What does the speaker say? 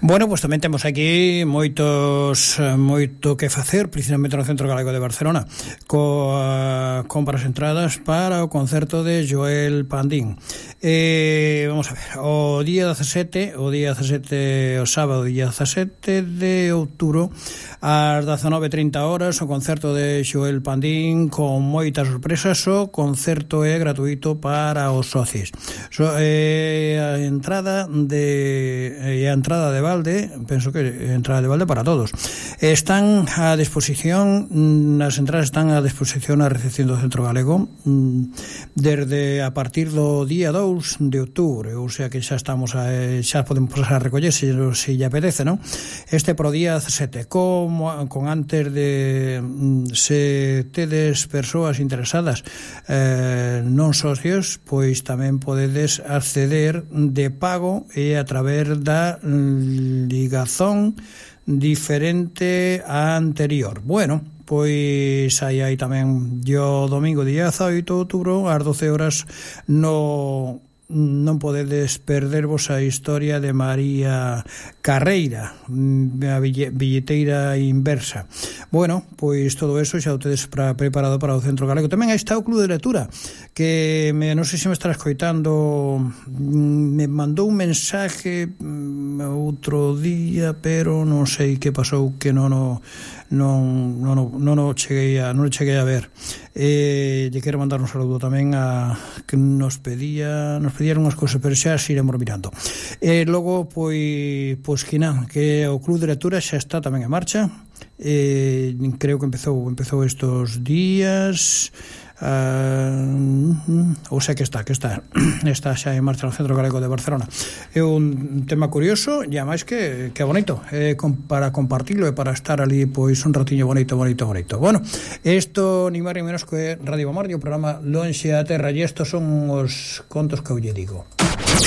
Bueno, pois tamén temos aquí moito que facer, principalmente no Centro Galego de Barcelona, compras entradas para o concerto de Joel Pandín. Vamos a ver, o sábado, día 17 de outubro, ás 19:30 horas, o concerto de Joel Pandín con moitas sorpresas. O concerto é gratuito para os socios. A entrada de balde, penso que entrada de balde para todos. Están a disposición, as entradas están a disposición na recepción do Centro Galego desde a partir do día 2 de outubro, ou sea que xa estamos xa podemos pasar a recoller se lle apetece, non? Este pro día 17, con antes de se tedes persoas interesadas non socios, pois tamén podedes acceder de pago e a través da ligazón diferente á anterior. Bueno, pois aí tamén o domingo día 18 de outubro ás 12 horas non podedes perdervos a historia de María Carreira, a billeteira inversa. Bueno, pois todo eso xa o tedes preparado para o Centro Galego. Tamén aí está o Club de Lectura, que non sei se me estará escoitando, me mandou un mensaje outro día, pero non sei que pasou, que non cheguei a ver. Lle quero mandar un saludo tamén a que nos pedían unhas cousas, pero xa se iremos mirando. Logo, pois que nada, que o Club de Lectura xa está tamén en marcha. Creo que empezou estos días, ou sea que está xa en marcha no Centro Galego de Barcelona. É un tema curioso e ademais que bonito, para compartilo e para estar ali pois un ratiño bonito. Bueno, isto ni máis ni menos que Radio Bombardio, o programa Lonxe a Terra, e estos son os contos que eu lle digo.